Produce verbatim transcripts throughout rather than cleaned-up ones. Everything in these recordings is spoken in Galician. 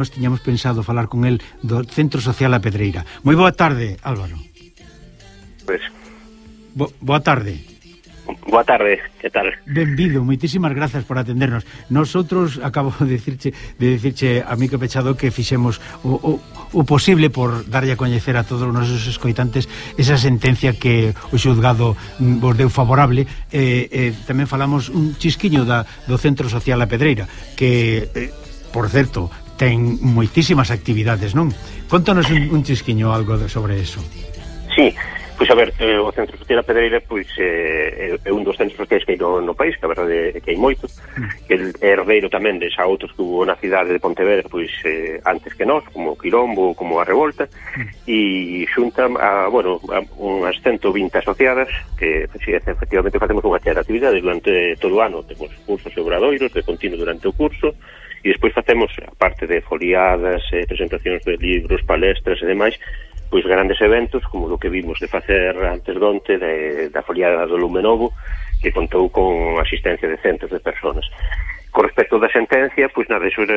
Nós tiñamos pensado falar con el do Centro Social A Pedreira. Moi boa tarde, Álvaro. Pois Bo, boa tarde. Boa tarde, que tal? Benvido, moitísimas grazas por atendernos. Nosotros, acabo de dicirche, de dicirche a Mico Pechado que fixemos o, o, o posible por darlle a coñecer a todos os nosos escoitantes esa sentencia que o xulgado vos deu favorable. eh, eh, tamén falamos un chisquiño da, do Centro Social A Pedreira, que, eh, por certo, ten moitísimas actividades, non? Contanos un, un chisquiño algo de, sobre eso. Sí, pois a ver, eh, o Centro Social A Pedreira pois eh, é un dos centros sociais que hai no, no país, que a verdade é que hai moitos, que é herdeiro tamén de xa outros que hubo na cidade de Pontevedra pois eh, antes que nós, como Quilombo, como a Revolta, e xunta a, bueno, a unhas ciento vinte asociadas que si, efectivamente facemos unha chea de actividades durante todo o ano. Temos cursos e obradoiros de continuo durante o curso, e despois facemos, aparte de foliadas, eh, presentacións de libros, palestras e demais, pois grandes eventos, como o que vimos de facer antes de onte, de, da foliada do Lume Novo, que contou con asistencia de centos de personas. Con respecto da sentencia, pois nada, iso era,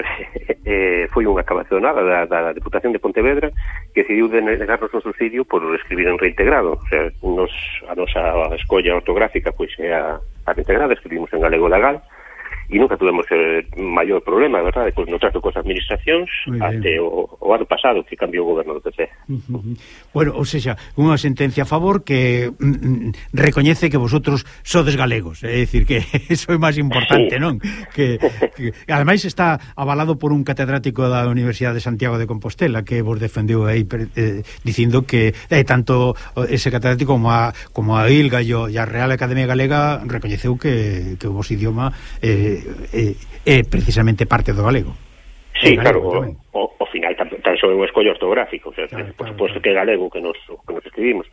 eh, foi unha cabazonada da, da Deputación de Pontevedra, que decidiu denegarnos o subsidio por escribir en reintegrado. O sea, nos, a nosa escolla ortográfica pois é a, a reintegrada, escribimos en galego legal, e nunca tuvemos eh, maior problema, verdade, pois no trato cos administracións até o, o ano pasado que cambiou o goberno do P C. Uh -huh. Bueno, ou seja, unha sentencia a favor que mm, recoñece que vosotros sodes galegos, é dicir que eso é máis importante, sí. Non? Que, que ademais está avalado por un catedrático da Universidade de Santiago de Compostela que vos defendeu aí eh, dicindo que eh, tanto ese catedrático como a, como a ILGA e a Real Academia Galega recoñeceu que, que o vos idioma eh, é, é precisamente parte do galego. Sí, galego, claro, o, o final tan, tan só é unha escolla ortográfica, o sea, claro, por claro, suposto claro. Que é galego que nos, que nos escribimos.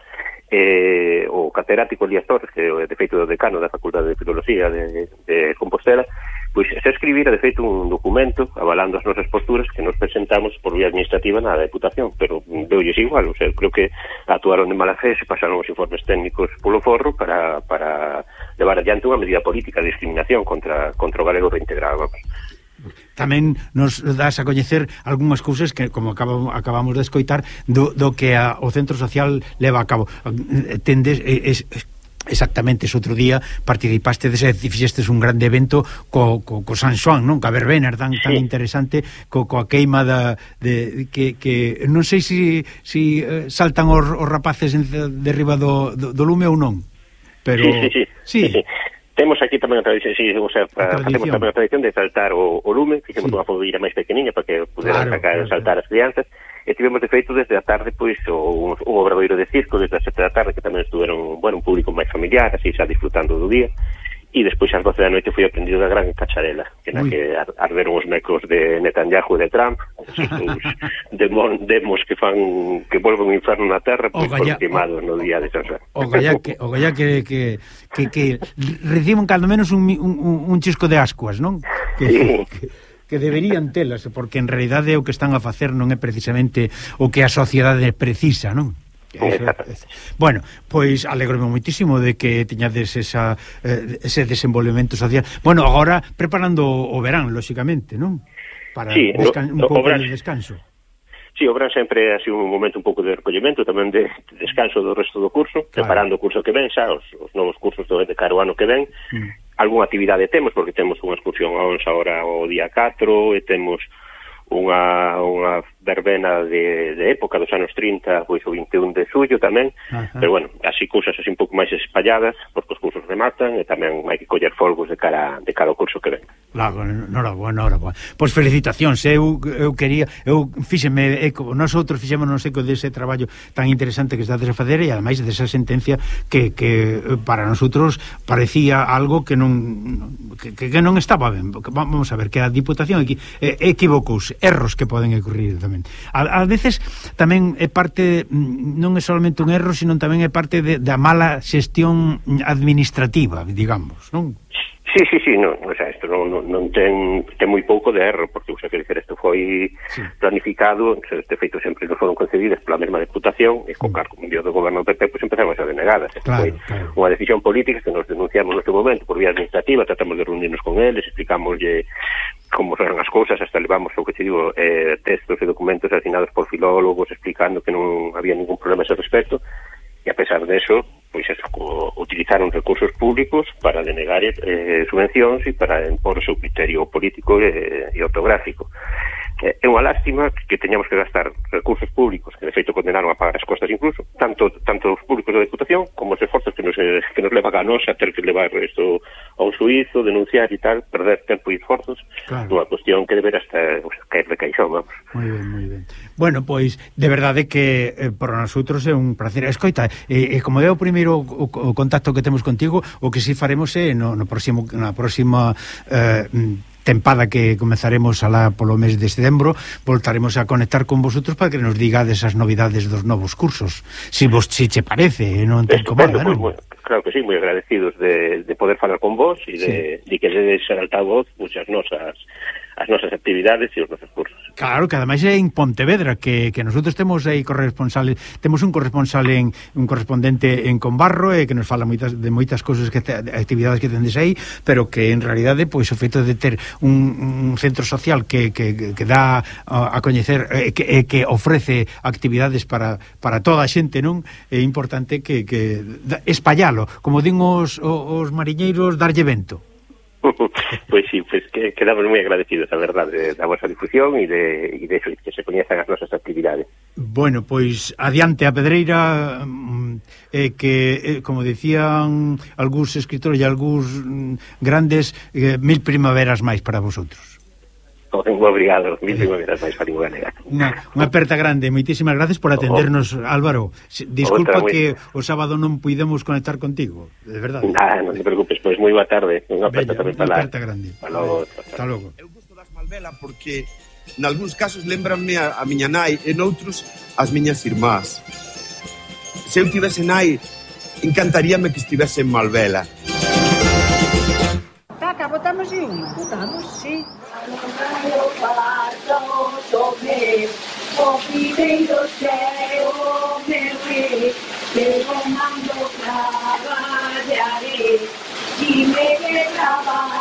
Eh, o catedrático Elías Torres, que é de feito do decano da Facultade de Filoloxía de, de Compostela, pois se escribira de feito un documento avalando as nosas posturas que nos presentamos por vía administrativa na Deputación, pero deulles igual, o sea, creo que actuaron de mala fe, se pasaron os informes técnicos polo forro para, para levar adiante unha medida política de discriminación contra, contra o galego reintegrado. Tamén nos das a coñecer algunhas cousas que, como acabamos, acabamos de escoitar, do, do que a, o Centro Social leva a cabo. Tendes... Es, es, exactamente, ese outro día participaste dese, fixestes un grande evento co, co, co San Xoán, non? Ca verbena tan, tan interesante, co, coa queima da, de, que, que non sei se si, si, uh, saltan os, os rapaces derriba do, do, do lume ou non, pero sí, sí, sí, sí. sí. Temos aquí tamén a tradición, sí, o sea, a facemos tamén a tradición de saltar o, o lume, fixemos sí. Unha fogueira máis pequeniña para que puderan claro, sacar e claro. Saltar as crianzas. E tivemos de feito desde a tarde pois o, un obradoiro de circo desde as sete da tarde que tamén estuveron, bueno, un público máis familiar, así xa disfrutando do día, e despois ás doce da noite foi aprendido da gran cacharela que na Uy. Que arderon os mecos de Netanyahu e de Trump, os demon, demos que fan que volven o inferno na terra pois foron queimados no día de San Xoán. O gallá que, o gallá que, que, que, que reciben cando menos un, un, un chisco de ascuas, non? Que, sí. que, que deberían telas, porque en realidade o que están a facer non é precisamente o que a sociedade precisa, non? Eso, bueno, pois alegrome moitísimo de que tiñades esa, eh, ese desenvolvemento social. Bueno, agora preparando o verán, lóxicamente, non? Para sí, descan no, un pouco obras, de descanso. Sí, o verán sempre ha sido un momento un pouco de recollemento, tamén de descanso do resto do curso, claro. Preparando o curso que ven xa, os, os novos cursos do de cara o ano que ven. Mm. Algúnha actividade temos, porque temos unha excursión a once ahora o día catro, e temos unha, unha verbena de, de época dos anos trinta, pois o vinte e un de xullo tamén. Ajá. Pero bueno, así cousas así un pouco máis espalladas, porque os cursos rematan e tamén hai que coller folgos de cara de cada curso que ven. Claro, norabuena, norabuena. Pois felicitacións, eu, eu quería, eu fíxeme eco, nosotros fixémonos eco dese traballo tan interesante que estades a facer e ademais desa sentencia que, que para nosotros parecía algo que non que, que non estaba ben. Vamos a ver, que a Diputación equi, equivocouse, erros que poden ocurrir tamén. A, a veces tamén é parte, non é solamente un erro, sino tamén é parte de, da mala xestión administrativa, digamos, non? Sí, sí, sí, non, o sea, isto non, non, non ten, ten moi pouco de erro, porque, o sea, quer dizer, isto foi sí. planificado, o sea, este feito sempre non foron concedidas pola mesma Deputación, e co cargo mundial do goberno do P P, pois pues, empezamos a denegadas. Claro, foi claro. unha decisión política que nos denunciamos neste momento por vía administrativa, tratamos de reunirnos con eles, explicámoslle como son as cousas, hasta levamos, o que te digo, eh, textos e documentos asinados por filólogos explicando que non había ningún problema a ese respecto, e a pesar de eso, pois eso, utilizaron recursos públicos para denegar eh, subvencións e para impor o seu criterio político e, e ortográfico. É unha lástima que teñamos que gastar recursos públicos, que de feito condenaron a pagar as costas incluso, tanto tanto os públicos da Deputación como os esforzos que nos, que nos levan a nos a ter que levar isto a un suizo, denunciar e tal, perder tempo e esforzos, claro. Unha cuestión que deberá estar, o sea, caer de caixón, vamos. Moi ben, moi ben. Bueno, pois, de verdade que eh, para nosotros é un placer. Escoita, e eh, eh, como é o primeiro o, o contacto que temos contigo, o que si faremos é no, no próximo, na próxima eh, tempada que comezaremos alá polo mes de setembro, voltaremos a conectar con vosotros para que nos digades as novidades dos novos cursos, si vos si che parece, non te incomoda, non? Pues, claro que sí, moi agradecidos de, de poder falar con vos e de, sí. de que dedes ser altavoz pues, as nosas as nosas actividades e os nosos cursos. Claro, que ademais é en Pontevedra, que, que nosotros temos aí corresponsales, temos un corresponsal en un correspondente en Conbarro e que nos fala moitas, de moitas cousas que te, actividades que tendes aí, pero que en realidade pois o feito de ter un, un centro social que, que, que dá a, a coñecer e que, que ofrece actividades para, para toda a xente, non? É importante que, que espallalo, como din os, os mariñeiros, darlle vento. Pois sí, pues que quedamos moi agradecidos, a verdade, da vosa difusión e de, e de eso, que se coñezan as nosas actividades. Bueno, pois adiante a Pedreira, eh, que, eh, como decían algúns escritores e algúns mm, grandes, eh, mil primaveras máis para vosotros. Moi obrigado, mil primaveras máis para Lingua Galega. Unha, unha aperta grande, moitísimas gracias por atendernos, oh. Álvaro. Disculpa que o sábado non puidemos conectar contigo, de verdade. Nah, non te preocupes, pois moi boa tarde. Unha aperta tamén para Unha aperta grande. Hasta logo. Eu gosto das Malvela porque nalgúns casos lembranme a, a miña nai e noutros as miñas irmás. Se eu tivese nai, encantaríame que estivese en Malvela. Caca, botamos unha? Botamos, sí. O primeiro ceo meu rei, pero mando traballaré, e me traballaré.